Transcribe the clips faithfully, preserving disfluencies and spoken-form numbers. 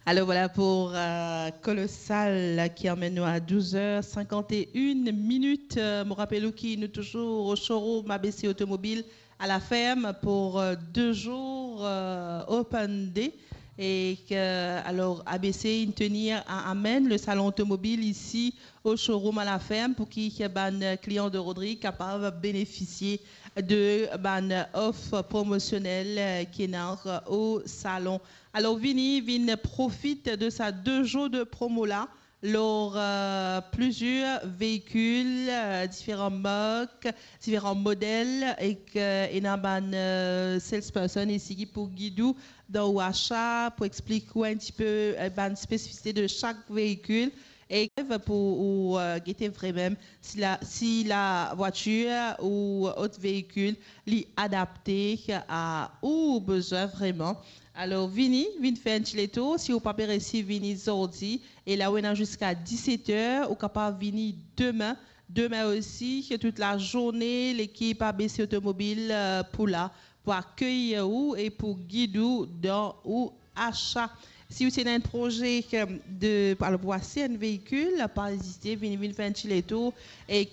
Alors voilà pour euh, Colossal qui emmène nous à douze heures cinquante et une minutes. Euh, mo rapel ou ki nou touzour o showroom A B C Automobile à la ferme pour euh, deux jours euh, open day. Et que, alors, A B C inn tenir à amener le salon automobile ici au showroom à la ferme pour ki bann clients de Rodrig kapav bénéficier de bann offre promotionnelle euh, ki ena euh, au salon. Alors, vini, vinn profit de sa deux jours de promo la lor euh, plusieurs véhicules, euh, différentes marques, différents modèles, et que ena bann euh, salesperson ici ki pou gid ou dan ou achat, pou explique ou un petit peu euh, bann spécificité de chaque véhicule, et pou ou euh, gete vremem si la, si la voiture ou autre véhicule li adapté à ou besoin vraiment. Alors, vini, vinn fer un petit détour. Si ou pa pe resi vini zordi, e la ou ena ziska diset er, ou kapav vini demin. Demin osi, toute la journée, l'équipe A B C Automobile euh, pou la, pou akeyir ou e pou gid ou dan ou achat. Si ou ti ena un projet euh, de, alors, pou aste un véhicule, pa ezite, vini, vinn fer un petit détour. E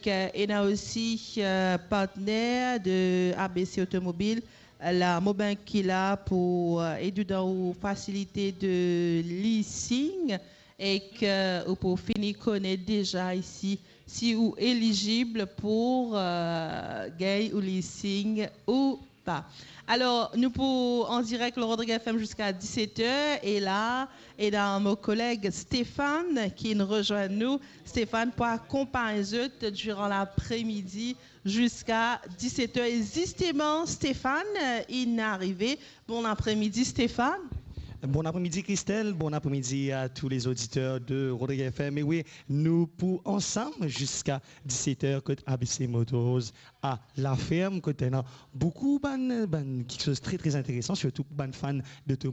ena osi euh, partner de A B C Automobile, la, mo bank ki la pou euh, ed ou dan ou facilité de leasing e ke ou pou fini konet deza ici si ou éligible pour euh, gagn ou leasing ou pas. Alors, nou pou en direct le Rodrig F M jusqu'à dix-sept heures et là, ena mon collègue Stéphane qui nous rejoint nous. Stéphane pou akonpagn zot durant l'après-midi jusqu'à dix-sept heures. Et justement, Stéphane euh, inn arive. Bon après-midi, Stéphane. Bon après-midi Christelle, bon après-midi à tous les auditeurs de Rodrig F M. E wi, nou pou ansam ziska diset er kot A B C Motors à la ferme, kot ena boukou bann, bann, quelque chose très très intéressant, surtout bann fan d'automobile.